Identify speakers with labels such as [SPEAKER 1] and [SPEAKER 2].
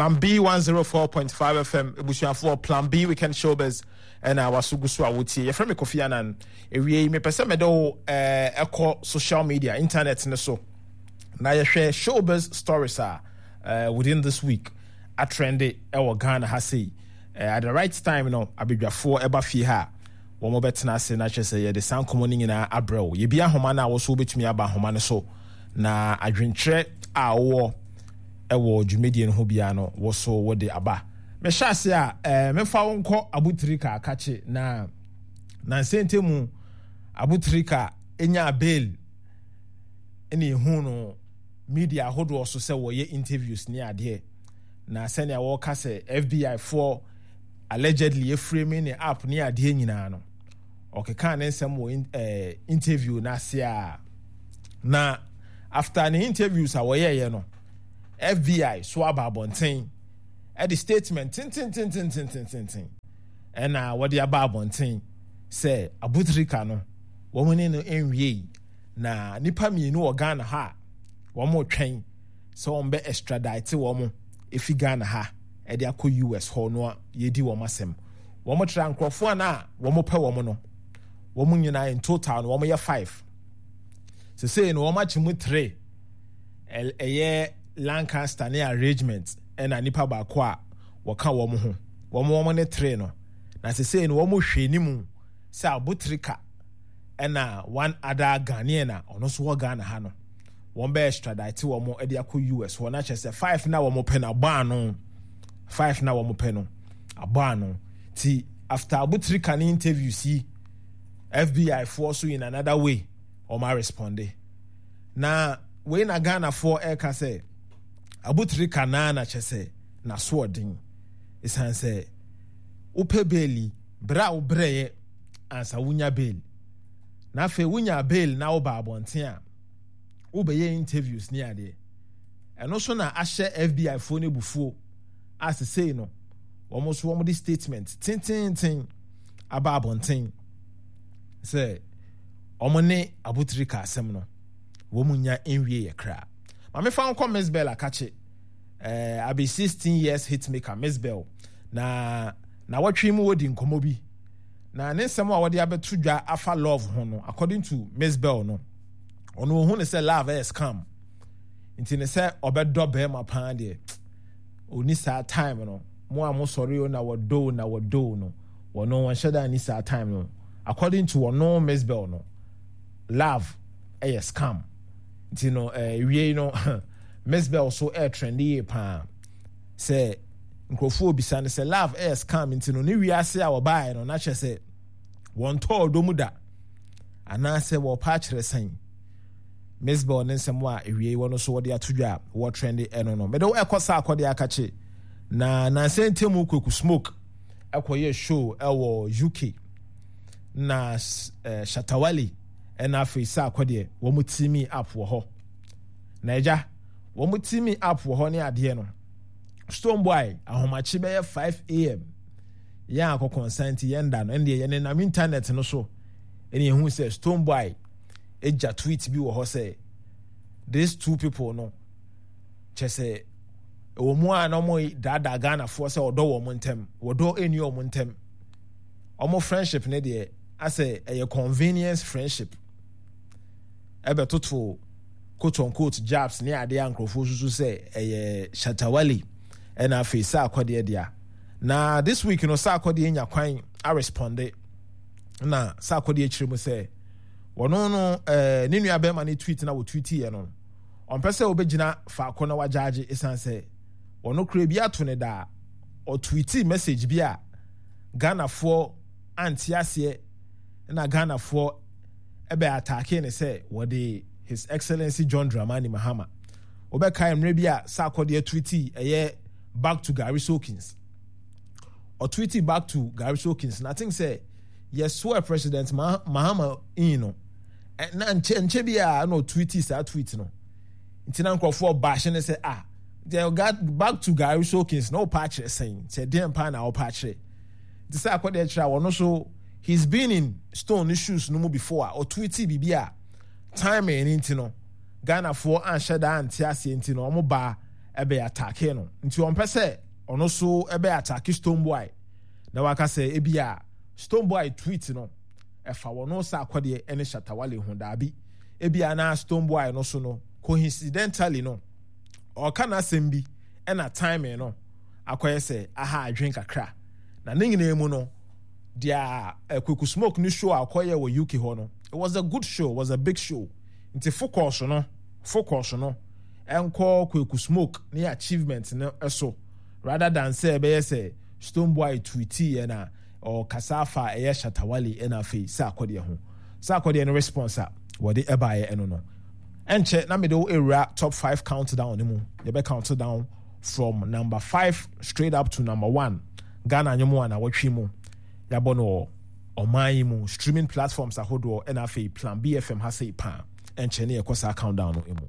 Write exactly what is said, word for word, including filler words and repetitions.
[SPEAKER 1] Plan B one oh four point five F M, ebusuafoɔ, Plan B Weekend Showbiz ɛna waso gu so a wotie. Yɛfrɛ me Kofi Anan. Ewie yi, mepɛ sɛ mede wo ɛɛ ɛkɔ social media, internet ne so, na yɛhwɛ showbiz stories a uh, within this week atrende ɛwɔ Ghana ha sei. uh, at the right time no, abadwafoɔ ɛba fie ha a, wɔn bɛtena ase na kyerɛ sɛ yɛde saa nkɔmmɔ no nyinaa abrɛ wo. Yɛbi ahoma no a, wɔso wobɛtumi aba ahoma no so na adwenkyerɛ a wowɔ ɛwɔ dwumadie no ho biara no, wɔ so wɔde aba. Mehyɛ ase a, ɛɛ mefa wo nkɔ Abutirika akakye na nansɛnte mu Abutirika enya bail, ɛna ehu no media ahodoɔ so sɛ wɔyɛ interviews ne adeɛ, na sɛnea wɔka sɛ F B I foɔ allegedly eframe ne app ne adeɛ nyinaa no, ɔkeka ne nsɛm wɔ ɛɛ interview n'ase a, na after ne interviews a wɔyɛɛyɛ no, F B I so aba abɔnten ɛde statement tententententententen ɛna wɔde aba abɔnten sɛ Abutrika no, wɔn ne no nwie, na nipa mmienu wɔ Ghana ha a wɔn retwɛn sɛ wɔn bɛ extradite wɔn efi Ghana ha ɛde akɔ U S hɔ no, yɛdi wɔn asɛm. Wɔn tra nkurɔfoɔ a na wɔn pɛ wɔn no, wɔn nyinaa in total no, wɔn yɛ five. Sesei no, wɔn akyi mu three, ɛyɛ Lancaster ne arrangement, ɛna nipa baako a wɔka wɔn ho, wɔn wɔn ne three no. Na sesei no, wɔn hwɛ anim sɛ Abutrika ɛna one other Ghanaian a ɔno nso wɔ Ghana ha no, wɔn bɛ extradite wɔn de akɔ U S hɔ, na kyerɛ sɛ five na wɔn pɛ no abɔ ano, five na wɔn pɛ no abɔ ano. Ti after Abutrika ne interviews yi, F B I foɔ so in another way wɔn aresponde, na wei na Ghanafoɔ ɛreka sɛ Abutrika naa na kyerɛ sɛ n'asoɔden, ɛsiane sɛ wopɛ bail, berɛ a wobrɛeɛ ansa wonya bail, na afei wonya bail na woba abɔnten a, wobɛyɛ interviews ne adeɛ. Ɛno so na ahyɛ F B I foɔ no abufuo a sesei no, wɔn nso wɔn de statement tententen aba abɔnten sɛ wɔn ne Abutrika asɛm no, wɔn nya nwie yɛ kra. Maame, fa nkɔ Miss Bell akakye, ɛɛ abi sixteen years hitmaker Miss Bell, na na wɔtwe mu wɔdi nkɔmɔ bi, na ne nsɛm a wɔde abɛto dwa afa love ho no, according to Miss Bell no, ɔno ohun ne sɛ love ɛyɛ scam, nti ne sɛ ɔbɛdɔ bɛrima paa deɛ, oni saa time no mo a mo sɔre o na wɔdɔ o na wɔdɔ o no, wɔno wɔnhyɛ da ni saa time no. According to ɔno Miss Bell no, love ɛyɛ scam. Nti no, ɛɛ wie no, Miss Bell so ɛɛ trend yie paa sɛ nkurɔfoɔ obisa no sɛ love ɛyɛ scam, nti no ne wiase a wɔbaeɛ no, na kyerɛ sɛ wɔn tɔɔ ɔdɔ mu da anaasɛ wɔpa akyerɛ sɛn. Miss Bell ne nsɛm a ewie wɔn nso wɔde ato dwa a wɔtrend ɛno no, mɛde ɛkɔ saa akɔde akakye na nansa ntɛmu Kweku Smoke ɛkɔyɛ show ɛwɔ U K, na ɛɛ Shatawale ɛna afei saa akɔdeɛ wɔn team up wɔ hɔ, na ɛgya wɔn team up wɔ hɔ ne adeɛ no, Stonebwoy ahomakye bɛyɛ five a m yɛn akɔkɔnsa nti yɛn da no, ɛndeɛ yɛn nenam internet no so ɛna ehu sɛ Stonebwoy egya tweet bi wɔ hɔ sɛ these two people no, kyɛ sɛ ɛwɔ mu a na wɔn daadaa Ghanafoɔ sɛ ɔdɔ wɔn ntɛm, wɔdɔ ɛni wɔn ntɛm, wɔn friendship ne deɛ asɛ ɛyɛ convenience friendship, ɛbɛtoto quote unquote jabs ne adeɛ a nkurɔfoɔ susu sɛ ɛyɛ Shatawale ɛna afei sɛ akɔdeɛ dea. Na this week no, sɛ akɔdeɛ nya kwan aresponde, na sɛ akɔdeɛ kyerɛ mu sɛ wɔno no, ɛɛ ne nua bɛrima ne tweet na wɔtweet yɛ no, ɔmpɛ sɛ wɔbɛgyina faako na wagyaagye, ɛsiane sɛ wɔno kura bi ato ne daa ɔtweeti message bi a Ghanafoɔ ante aseɛ, na Ghanafoɔ ɛbɛ attack ne sɛ wɔde His Excellency John Dramani Mahama. Wɔbɛkae mmerɛ bi a sɛ akɔdeɛ tweeti ɛyɛ "back to Gary Sokins", ɔtweeti "back to Gary Sokins", na I think sɛ yɛsoɛ President Mahama in no, na nkyɛ nkyɛ bi a na ɔtweeti saa tweet no, nti na nkurɔfoɔ baahye ne sɛ, ah, "back to Gary Sokins" na ɔpa akyerɛ sɛn, sɛ deɛn paa na ɔpa akyerɛ? Nti sɛ akɔdeɛ kyerɛ a, wɔno so he's been in Stone shoes no mu before a ɔtweeti biribi a timing ne nti no, Ghanafoɔ anhyɛ daa ante aseɛ, nti no wɔn baa Ɛbɛ attack no, nti ɔmpɛ sɛ ɔno so ɛbɛ attack Stonebwoy na waka sɛ ebi a Stonebwoy tweet no ɛfa wɔn Sarkodie ɛne Shatta Wale ho. Daabi, ebi a na Stonebwoy no so no, coincidentally no, ɔka n'asɛm bi ɛna timing no akɔyɛ sɛ aha adwen kakra. Na ne nyinaa mu no deɛ, Kweku Smoke ne show a ɔkɔyɛ wɔ U K hɔ no, it was a good show, it was a big show. Nti focus no focus no ɛnkɔ Kweku Smoke ne achievement no ɛso rather than sɛ ɛbɛyɛ sɛ Stonebwoy tweet yɛ na ɔkasa afa ɛyɛ Shatta Wale ɛna afei Sarkodie ho. Sarkodie no response a wɔde ɛbaeɛ ɛno no, ɛnkyɛ na mede wo ewura top five countdown no mu. Yɛbɛ count down from number five straight up to number one. Ghana nnwom a na wɔtwe mu yɛabɔ no wɔ ɔman yi mu streaming platforms ahodoɔ ɛna afei Plan B F M ha sei paa. Ɛnkyɛ ne yɛkɔ saa countdown no mu.